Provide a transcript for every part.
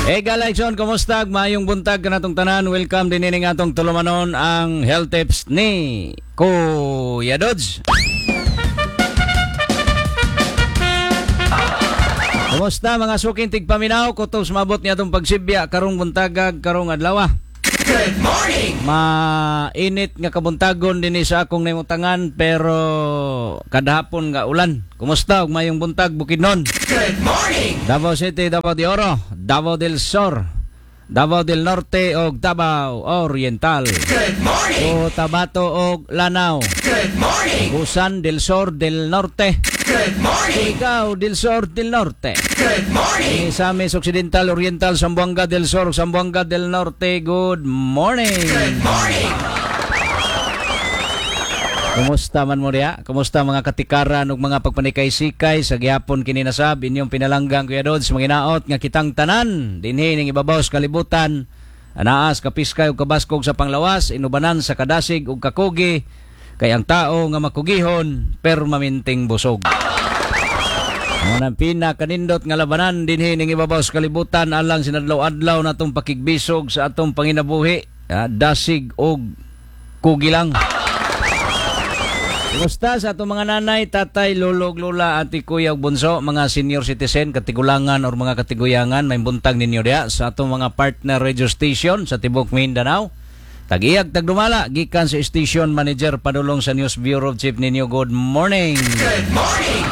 Hey Galaxon, kumusta? Maayong buntag kanatong tanan. Welcome din ining atong tulumanon, ang health tips ni Kuya Dodge. Kumusta, mga suking tigpaminaw? Kutob mabot niya atong pagsibya karong buntagag, karong adlaw. Good morning. Mainit nga kabuntagon dinhi sa akong nahimutangan, pero kadahapon nga ulan. Kumusta ug maayong buntag, Bukidnon? Good morning. Davao City, Davao de Oro, Davao del Sur, Davao del Norte ug Davao Oriental. Good morning. Cotabato ug Lanao. Good morning. Busan del Sur del Norte. Good morning. Ikaw del Sur del Norte. Good morning. Misamis Occidental, Oriental, Zamboanga del Sur, Zamboanga del Norte. Good morning. Good morning. Kumusta man mo diya? Kumusta, mga katikaran ug mga pagpanikay-sikay sa gihapon kini nasab inyong pinalanggang Kuya Dodds, manginaot nga kitang tanan dinhi ning ibabaw sa kalibutan, anaas kapiskay ug kabaskog sa panglawas, inubanan sa kadasig ug kakugi, kay ang tao nga makugihon permanenteng busog. Mao nang pinakanindot nga labanan dinhi ning ibabaw sa kalibutan alang sinadlaw-adlaw natong pakigbisog sa atong panginabuhi, dasig og kugi lang. Kumusta sa atong mga nanay, tatay, lolo, lola, ate, kuya ug bunso, mga senior citizen, katigulangan or mga katiguyangan, may buntag ninyo diya sa atong mga partner radio station sa tibok Mindanao. Tag-iyag tagdumala, gikan sa station manager padulong sa news bureau chief ninyo. Good morning. Good morning.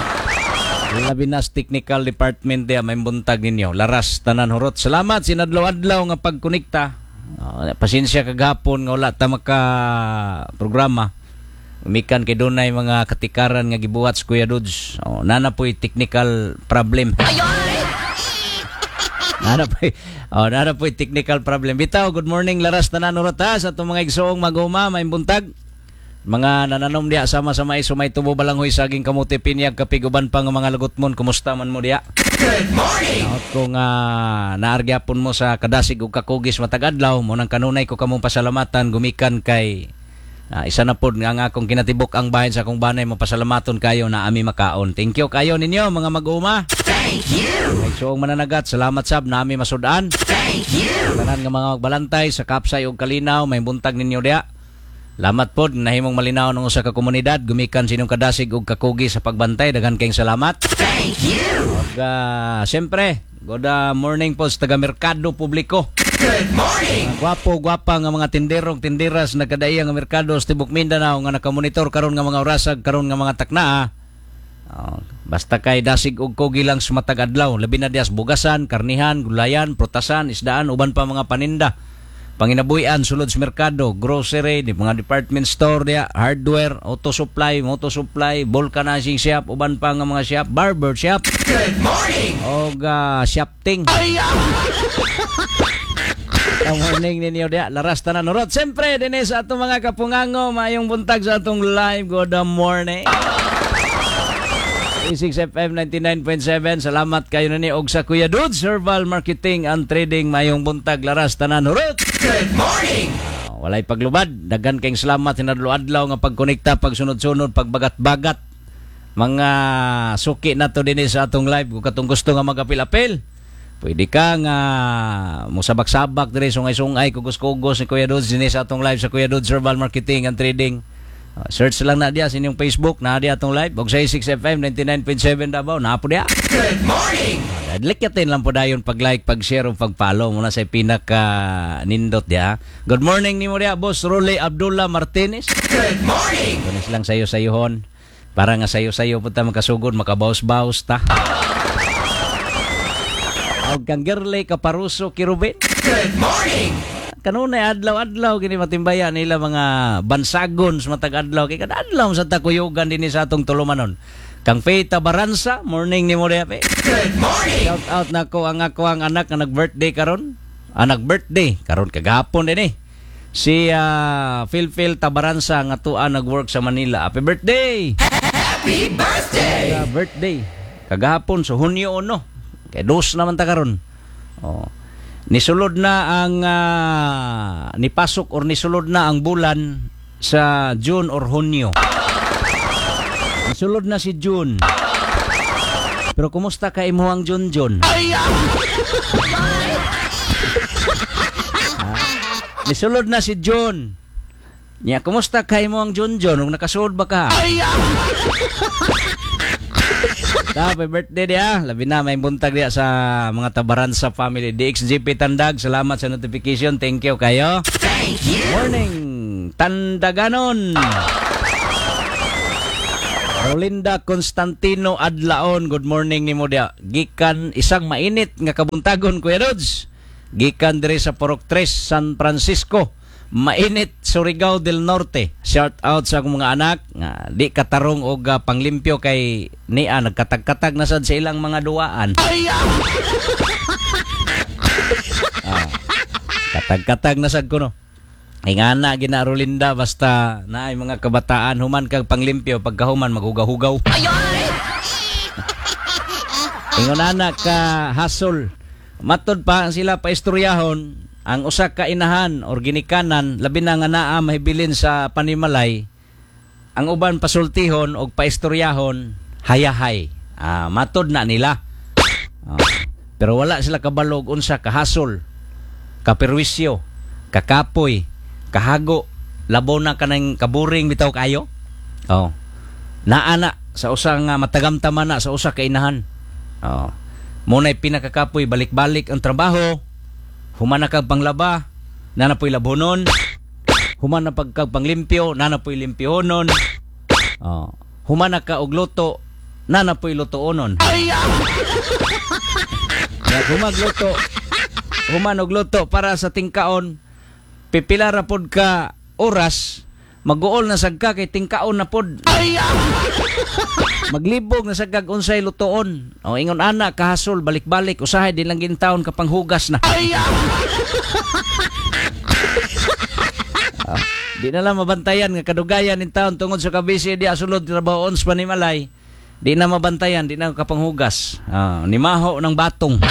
Labi na sa technical department diya, may buntag ninyo. Laras tanan, hurot. Salamat sinadlaw-adlaw nga pagkonekta. Pasensya kagahapon nga wala ta maka programa. Umikan kay dunay mga katikaran nga gibuhat sa Kuya Dudes. Oh, nana po'y technical problem. Nana po'y technical problem. Bitaw, good morning, laras tanan, hurot ha, sa atong mga igsoong mag-uma, may buntag. Mga nananom diya sama sa mais, sumay tubo, balanghoy, saging, kamote, pinyag, kapig, uban pa nga mga lagutmon. Kumusta man mo diya? Good morning. Naot ko nga naargyapon mo sa kadasig ug kakugis matag adlaw mo nang kanunay ko kamong pasalamatan gumikan kay isa na pod nga ang akong kinatibuk ang bahin sa akong banay mo pasalamaton kayo na ami makaon. Thank you kayo ninyo, mga mag-uma. Thank you. Kay suong mananagat, salamat sab na ami masud-an. Thank you. Tanan nga mga magbalantay sa kapsay ug kalinaw, may buntag ninyo diya. Salamat pod nahimong malinaw ng usa ka komunidad gumikan sinong kadasig ug kakugi sa pagbantay. Daghan kayong salamat. Thank you. Ug siyempre, good morning po sa taga Merkado Publiko. Good morning. Gwapo, gwapa nga mga tinderong tinderas nagkadaiya nga merkado sa tibok Mindanao nga nakamonitor karon nga mga orasag, karon nga mga taknaa. Oh, basta kay dasig og kugi lang sa matag adlaw, labi na dias bugasan, karnihan, gulayan, prutasan, isdaan, uban pa mga paninda. Panginabuhian sulod sa merkado, grocery, di mga department store diya, hardware, auto supply, moto supply, vulcanizing shop, uban pa nga mga shop, barber shop. Good morning. Og shopting. Ang morning ninyo diya, laras tanan, hurot. Siyempre, dinhi sa atong mga kapungango, maayong buntag sa atong live. Good morning. 6 FM 99.7. Salamat kayo nini og sa Kuya Dudes Herbal Marketing and Trading, maayong buntag, laras tanan, hurot. Good morning. Walay paglubad. Daghan kayong salamat hinadlo-adlaw nga pagkonekta, pagsunod-sunod, pagbagat-bagat. Mga suki na to dinhi sa atong live. Kung katong gusto nga magapil-apil, pwede ka nga musabak-sabak diri, sungay-sungay, kugos-kugos ni Kuya Dudes dinhi sa atong live sa Kuya Dudes Herbal Marketing and Trading. Search lang na diya sa inyong Facebook, na diya atong live. Og sa 6 FM 99.7 Davao, naa po diya. Good morning. Likyatin lang po dayon pag-like, pag-share o pag-follow muna sa pinaka nindot diya. Good morning nimo diya, Boss Role Abdullah Martinez. Good morning. Kunis lang sayo sayuhon. Para nga sayo-sayo po ta makasugod, makabaus-baus ta. Og kang Girly Kaparuso Kirubin. Good morning. Kanunay adlaw-adlaw kini matimbaya nila mga bansagon sa matag adlaw kay kada adlaw sa takuyugan dinhi sa atong tulumanon. Kang Faye Tabaransa, morning nimo diha, Pe. Good morning. Shout out nako ang ako ang anak nga nag-birthday karon. Ah, nag-birthday karon kagahapon din eh. Si Phil Phil Tabaransa nga tuwa nag-work sa Manila. Happy birthday. Happy birthday. Birthday kagahapon sa Hunyo 1. Kay dos naman ta karon. Oh. Nisulod na ang nipasok or nisulod na ang bulan sa June or Hunyo. Nisulod na si June. Pero kumusta ka imuhang Junjun? Nisulod na si John. Nya, kumusta kay mo ang Junjun? Ug nakasulod ba ka? Happy birthday diya. Labi na may buntag diya sa mga Tabaransa family. DXGP Tandag, salamat sa notification. Thank you kayo. Thank you. Morning, Tandaganon. Rolinda Constantino Adlaon, good morning nimo diya. Gikan isang mainit nga kabuntagon, Kuya Rods. Gikan diri sa Purok 3, San Francisco. Mainit, Surigao del Norte. Shout out sa akong mga anak nga di katarong og panglimpyo kay nia nagkatag-katag na sad sa ilang mga duwaan. Katag-katag na sad kuno. Ingana gina Rolinda, basta naay mga kabataan, human kag panglimpyo, pagkahuman maghugaw-hugaw. Ingon ana ka hasol. Matod pa sila paistoryahon ang usa ka inahan or ginikanan, labi na nga naa mahibilin sa panimalay, ang uban pasultihon og paistoryahon hayahay. Matod na nila. Pero wala sila kabalog unsa kahasol, kaperwisyo, kakapoy, kahago, labo na kanang kaburing bitaw kayo. Oh. Naa na sa usa nga matagamtama na sa usa ka inahan. Oh. Muna'y pinakakapoy, balik-balik ang trabaho, human na kag panglaba, na napoy labonon, human na pagkag panglimpyo, na napoy limpyonon. Oh. Human na ka og luto, na napoy lutoonon. Ya, humagluto, human og luto para sa tingkaon, pipila ra pod ka oras, maguol na sad ka kay tingkaon na pod. Maglibog na sad kag unsay lutoon. O ingon ana kahasol, balik-balik usahay di lang gintawon ka panghugas na. Di na lang mabantayan nga kadugayan nin taon tungod sa kabisi di asulod trabaho ons panimalay. Di na mabantayan, di na kapanghugas. Nimaho ng batong.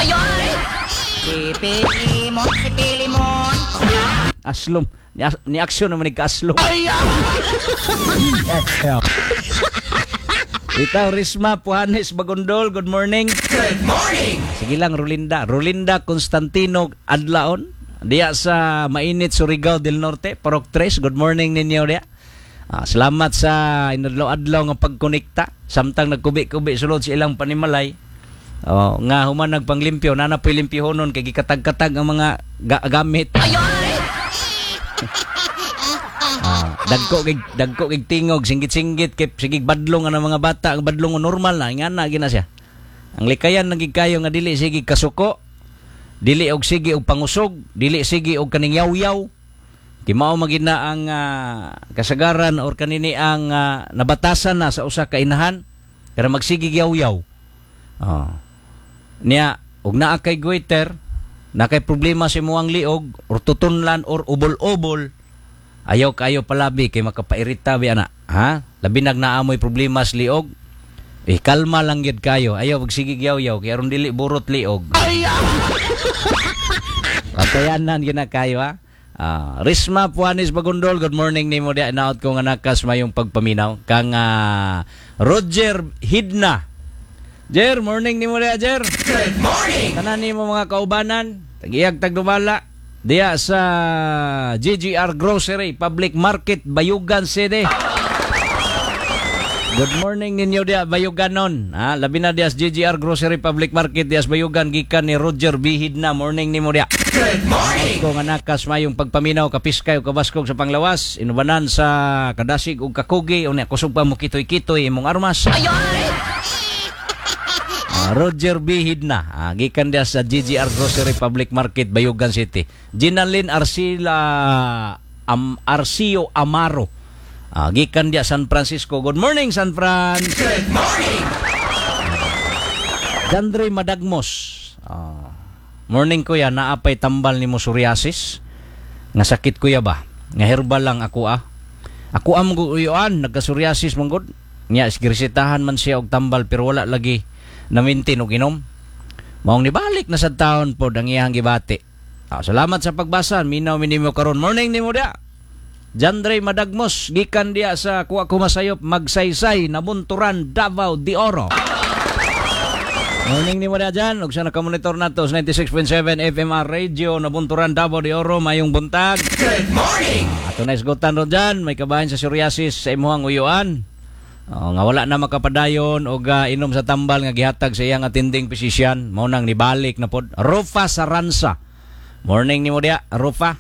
Si Pilimon, si Pilimon. Aslom. Ni aksyon naman ni kaaslom. Itaw, Risma Puhanes Bagondol, good morning. Good morning. Sige lang, Rolinda. Rolinda Constantino Adlaon, diya sa mainit Surigao del Norte, Parok 3. Good morning ninyo diya. Salamat sa inadlaw-adlaw nga pagkonekta. Samtang nagkubi-kubi sulod sa ilang panimalay. Oh, nga human nagpanglimpyo, nana po'y limpyohonon kay gikatag-katag ang mga gamit. Dagko kig tingog, singgit-singgit kay sige badlong ang mga bata, ang badlong normal na ingana gina siya. Ang likayan nagig kayo nga dili sige kasuko, dili og sige og pangusog, dili sige og kaning yaw-yaw. Kay mao magid na ang kasagaran or kanini ang nabatasan na sa usa ka inahan pero magsige yaw-yaw. Oh. Niya og naa kay goiter, na kay problema sa imong liog or tutunlan or ubol-ubol, ayaw kayo palabi kay makapairita bi ana, ha? Labi nag naamoy problema sa liog. Eh kalma lang gyud kayo. Ayaw magsigig yaw-yaw kay aron dili burot liog. Patayanan gyud na kayo, ha? Risma Puanis Bagundol, good morning nimo diya. Inaot ko nga nakas mayong pagpaminaw kang Roger Hidna. Jer, morning nimo diya, Jer. Good morning. Tanan nimo mga kaubanan, tagiyag tagdumala diya sa GGR Grocery Public Market, Bayugan City. Good morning ninyo diya Bayuganon. Ha, labi na diya sa GGR Grocery Public Market diya sa Bayugan gikan ni Roger B. Hidna. Morning nimo diya. Good morning. Ko nga nakas mayong pagpaminaw kapiskay ug kabaskog sa panglawas, inubanan sa kadasig ug kakugi unya kusog pa mo kitoy-kitoy imong armas. Roger B. Hidna, gikan diya sa GGR Grocery Public Market, Bayugan City. Ginalyn Arcila Arcio Amaro, gikan diya San Francisco. Good morning, San Fran. Good morning. Dandre Madagmos. Morning kuya, naapay tambal nimo psoriasis. Nga sakit kuya ba? Nga herbal lang ako ah. Ako am guyuan, nagka-psoriasis man gud. Nya giresetahan man siya og tambal pero wala lagi namintin og inom. Maong nibalik na sa taon pod ang iyang gibati. Salamat sa pagbasa. Minaw minimo karon. Morning nimo dia. Jandre Madagmos gikan dia sa Kuwa Kumasayop, Magsaysay, Nabunturan, Davao de Oro. Morning nimo diha dyan. Ug sa nakamonitor nato sa 96.7 FMR Radio, Nabunturan, Davao de Oro, mayong buntag. Good morning. Ato na isgutan ron dyan, may kabahin sa psoriasis sa imuhang uyuan. Oh, nga wala na makapadayon og inom sa tambal nga gihatag sa iyang attending physician, mao nang nibalik na pod. Rufa Saransa. Morning nimo diha, Rufa.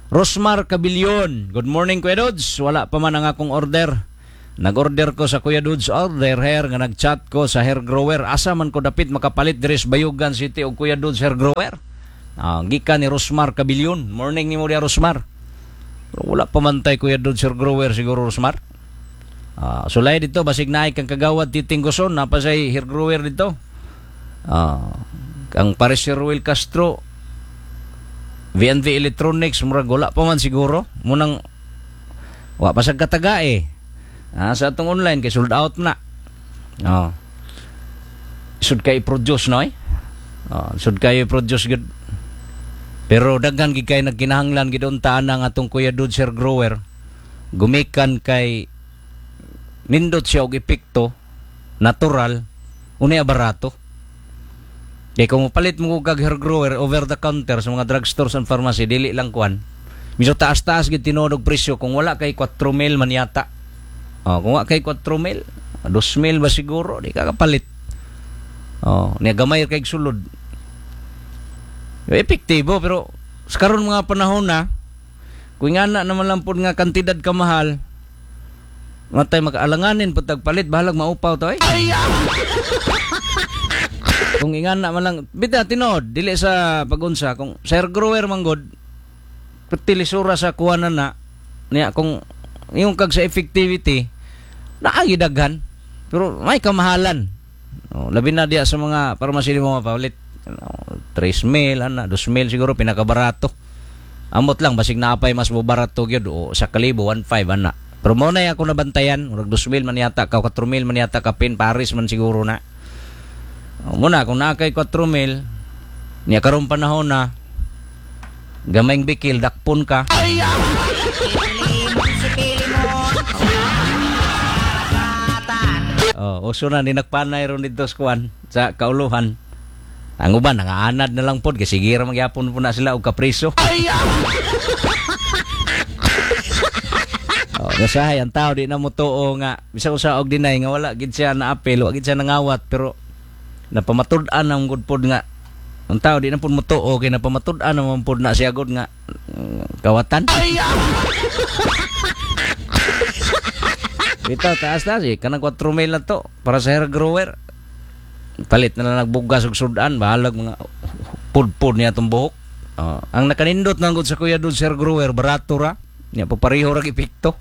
Rosmar Cabilyon. Good morning, Kuya Dudes. Wala pa man ang akong order. Nag-order ko sa Kuya Dudes order hair nga nag-chat ko sa hair grower. Asa man ko dapit makapalit diri sa Bayugan City og Kuya Dudes hair grower? Ah, gikan ni Rosmar Cabilyon. Morning nimo diha, Rosmar. Pero wala pa man tay Kuya Dudes hair grower siguro, Rosmar. Ah, sulay dito basig naay kang kagawad Titing Guson napa say hair grower dito. Ah, ang Paris si Ruel Castro, V&V Electronics, murag wala pa man siguro. Munang wa pa sa kataga eh. Ah, sa atong online kay sold out na. Oh. Sud kay produce no eh. Oh, sud kay produce gud. Pero daghan gid kay nagkinahanglan gid unta ang atong Kuya Dudes hair grower. Gumikan kay nindot siya og epekto natural, unya barato. Kay kung mopalit mo kag hair grower over the counter sa mga drugstores and pharmacy, dili lang kuan. Medyo taas-taas gid tinuod og presyo kung wala kay 4,000 man yata. Oh, kung wala kay 4,000, 2,000 ba siguro, di ka kapalit. Oh, niya gamay kay sulod. Epektibo pero sa karon mga panahon na kung nga na naman lang pud nga kantidad ka mahal, matay makaalanganin pud tagpalit, bahalag maupaw to eh. Kung ingana man lang bita tinuod dili sa pagunsa kung sa hair grower man gud tilisura sa kuwanan na niya kung yung kag sa effectivity naagi daghan pero may kamahalan. Oh, labi na diya sa mga pharmacy mo mapalit, oh, 3 mil ana, 2 mil siguro pinakabarato. Amot lang basig naapay mas barato gyud o sa kalibo 1.5 ana, pero mo na ako nabantayan murag 2 mil man yata ka, 4 mil man yata kapin Paris man siguro na. O, muna kung naa kay 4 mil niya karon panahon na gamayng bikil dakpon ka. Pilimon si Pilimon. Karagatan. Oh, uso na ni nagpanay ron dito sa kuan sa kauluhan. Ang uban nangaanad na lang pod kay sige ra magyapon po na sila og kapriso. Oh, nasahay ang tao di na mo tuo nga bisan usa og deny nga wala gid siya naapil, wa gid siya nangawat, pero napamatud-an ang gud pod nga ang tao di na pod motuo kay napamatud-an naman pod na siya gud nga kawatan. Bitaw taas na si kanang 4 mil na to para sa hair grower. Palit na lang nagbugas og sudan, bahalag mga pudpud niya tong buhok. Oh, ang nakanindot nang gud sa Kuya Dudes hair grower barato ra. Niya papareho ra epekto.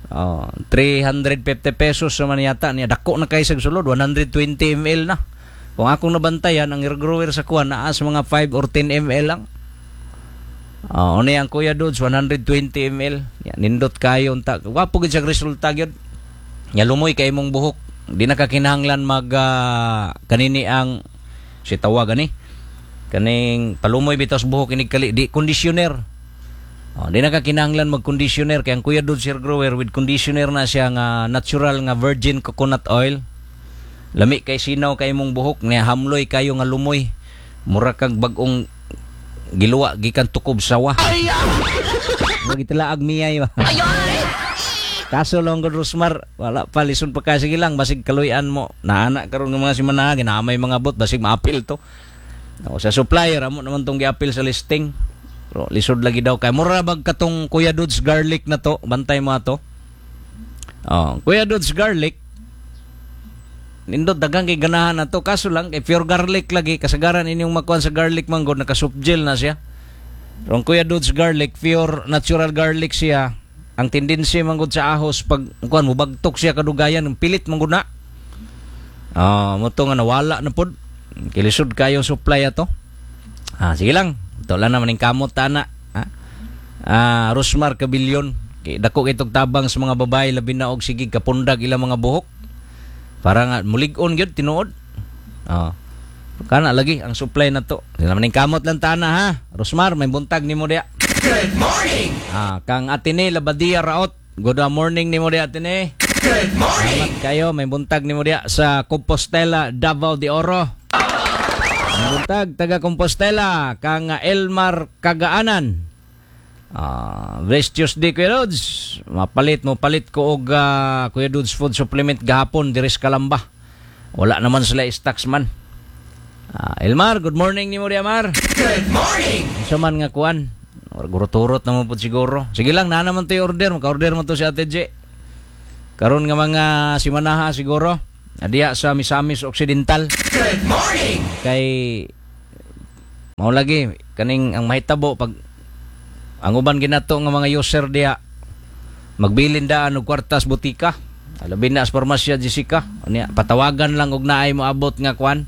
Oh, 350 pesos naman yata niya, dako na kay sa sulod, 120 ml na. Kung akong nabantayan ang hair grower sa kuan naa sa mga 5 or 10 ml lang. Oh, ano ang Kuya Dudes 120 ml. Ya, nindot kayo unta. Gwapo gid siya resulta gyud. Nya lumoy kay imong buhok. Di na ka kinahanglan mag kanini ang si tawag ani. Kaning palumoy bitaw sa buhok inig kali di conditioner. Oh, di na ka kinahanglan mag conditioner kay ang Kuya Dudes hair grower with conditioner na siya nga natural nga virgin coconut oil. Lami kay sinaw kay imong buhok niya, hamloy kayo nga lumoy. Mura kag bag-ong giluwa gikan tukob sawa. Magitlaag miyay ba. Kaso lang gud Rosmar, wala pa, lison pa kasi lang basig kaluy-an mo. Naana karon nga mga simana ginaamay mga bot basig maapil to. O, sa supplier amo naman tong giapil sa listing. Pero lisod lagi daw kay mura bag katong Kuya Dudes garlic na to, bantay mo ato. Oh, Kuya Dudes garlic nindot daghang kay ganahan na to, kaso lang kay pure garlic lagi kasagaran inyong makuan sa garlic manggod naka soft gel na siya. Pero ang Kuya Dudes garlic pure natural garlic siya. Ang tendency manggod sa ahos pag kuan mo bagtok siya kadugayan, ang pilit manggod na. Ah, mo to nga nawala na pod. Kilisod kayo supply ato. Ah, sige lang. Ito lang naman yung kamot tana. Ah, ah Rosmar Cabilyon. Kay dako kay tog tabang sa mga babae labi na og sige kapundag ilang mga buhok. Para nga mulig-on gyud tinuod. Ah. Kana lagi ang supply na to. Di naman ning kamot lang tana ha. Rosmar, may buntag nimo diya. Good morning. Ah, kang Atene Labadia Raot. Good morning nimo diya, Atene. Good morning. Salamat kayo, may buntag nimo diya sa Compostela, Davao de Oro. Buntag taga Compostela kang Elmar Kagaanan. Blessed Tuesday, Kuya Dudes. Mapalit mo palit ko og Kuya Dudes food supplement gahapon diri sa Kalamba. Wala naman sila stocks man. Elmar, good morning nimo diha, Mar. Good morning. Unsa man nga kuan? Gurot-turot naman po siguro. Sige lang, na naman to yung order. Maka-order mo to si Ate J. Karon nga mga simanaha siguro. Adiya sa Misamis Occidental. Good morning. Kay mao lagi kaning ang mahitabo pag ang uban ginato nga mga user diha magbilin daan og kwartas butika. Labi na sa Parmasya Jessica. Unya, patawagan lang og naay moabot nga kuan.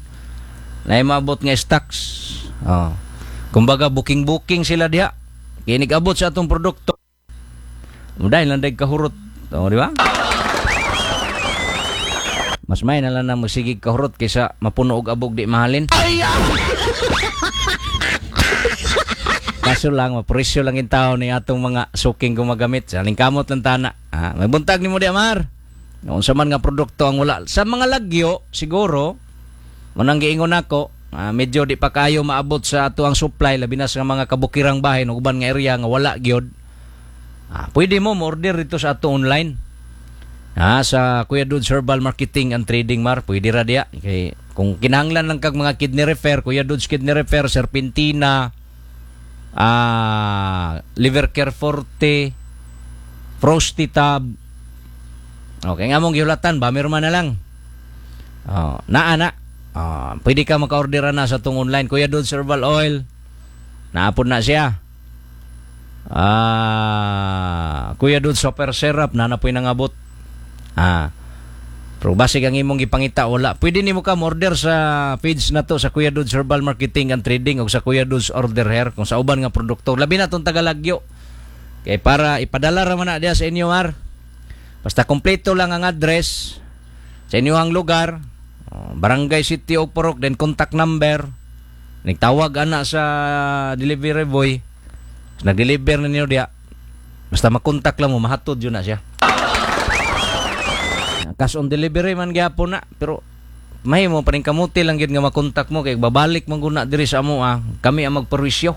Naay moabot nga stocks. Oh. Kumbaga booking-booking sila diha. Kay abot sa atong produkto. Muday lang dag kahurot. Oh, di ba? Mas may na lang na magsigig kahurot kaysa mapuno og abog di mahalin. Kaso lang, mapresyo lang yung tao ni atong mga suking gumagamit. Sa kamot lang tana. May buntag ni mo di, Amar. Unsa man nga produkto ang wala. Sa mga lagyo, siguro, munang giingon nako, medyo di pa kayo maabot sa ato ang supply, labi na sa mga kabukirang bahin o uban nga area nga wala gyud. Pwede mo mo-order dito sa ato online. Sa Kuya Dudes Herbal Marketing and Trading, Mar, pwede ra diya. Kay kung kinahanglan lang kag mga kidney repair, Kuya Dudes Kidney Repair, Serpentina, Liver Care Forte, Frosty Tab. Okay, nga mong gihulatan, ba man na lang. Oh, naa na. Pwede ka maka-order na sa tong online. Kuya Dudes Herbal Oil. Naapod na siya. Kuya Dudes Super Syrup na napoy nangabot. Pero basig ang imong gipangita wala. Pwede nimo ka order sa page na to sa Kuya Dudes Herbal Marketing and Trading o sa Kuya Dudes Order Here kung sa uban nga produkto. Labi na tong Tagalagyo. Kay para ipadala ra man na diya sa inyo, Mar. Basta kompleto lang ang address sa inyong lugar, barangay, city o purok, then contact number. Nagtawag ana sa delivery boy. Nag-deliver na ninyo diya. Basta makontak lang mo, mahatod yun na siya. Cash on delivery man gyapon na, pero mahimo pa rin kamuti lang gyud nga makontak mo kay babalik man guna diri sa amo, kami ang magperwisyo.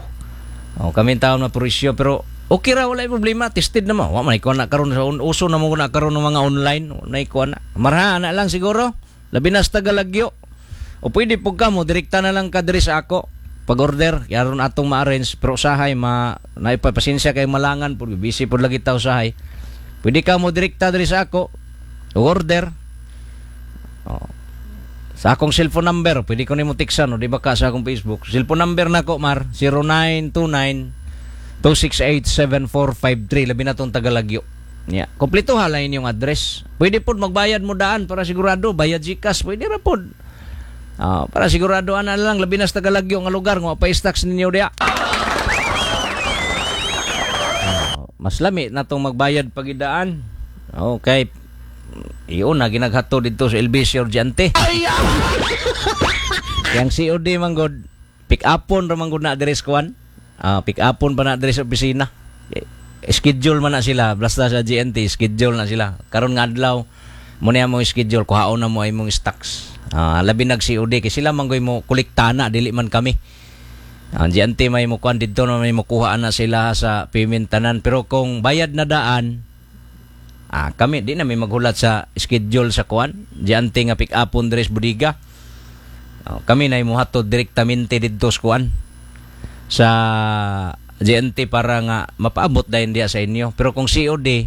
Oh, kami ang taon magperwisyo, pero okay ra, wala problema, tested na mo. Wa man ikaw na karon sa uso na mo na karon ng mga online, na ikaw na. Marha na lang siguro. Labi na sa Tagalagyo. O pwede pug ka mo direkta na lang ka diri sa ako pag-order, aron atong ma-arrange, pero usahay ma naipapasensya kay malangan pud, busy pud lagi ta usahay. Pwede ka mo direkta diri sa ako order. Oh. Sa akong cellphone number, pwede ko nimo tiksan o di ba ka sa akong Facebook. Cellphone number nako, Mar, 0929 268 7453, labi na tong Tagalagyo. Yeah. Kompleto ha lang inyong address. Pwede pod magbayad mo daan para sigurado, bayad GCash, pwede ra pod. Para sigurado ana lang, labi na sa Tagalagyo nga lugar nga pa stocks ninyo diha. Mas lami na tong magbayad pagidaan. Okay. Iyon na ginaghato dito sa LBC Urgente. Yang COD man god, pick upon ra man gud na diri sa kuan. Pick upon pa na diri sa opisina. Schedule man na sila, basta sa GNT schedule na sila. Karon nga adlaw mo niya mo schedule, kuhaon na mo ay mong stocks. Labi nag COD kay sila man goy mo kolekta na, dili man kami. Ang GNT may mo kuan didto na may mokuha na sila sa payment tanan, pero kung bayad na daan, kami di na may maghulat sa schedule sa kuan. GNT nga pick upon diri sa bodega. Kami na imuhatod direktamente didto sa kuan sa GNT para nga mapaabot dayon diha sa inyo. Pero kung COD,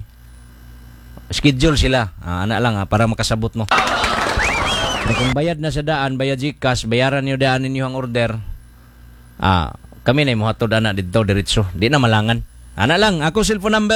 schedule sila. Ana lang para makasabot mo. Pero kung bayad na sa daan, bayad GCash, bayaran niyo daan ninyo ang order. Kami na imuhatod ana didto diretso. Di na malangan. Ana lang, ako cellphone number.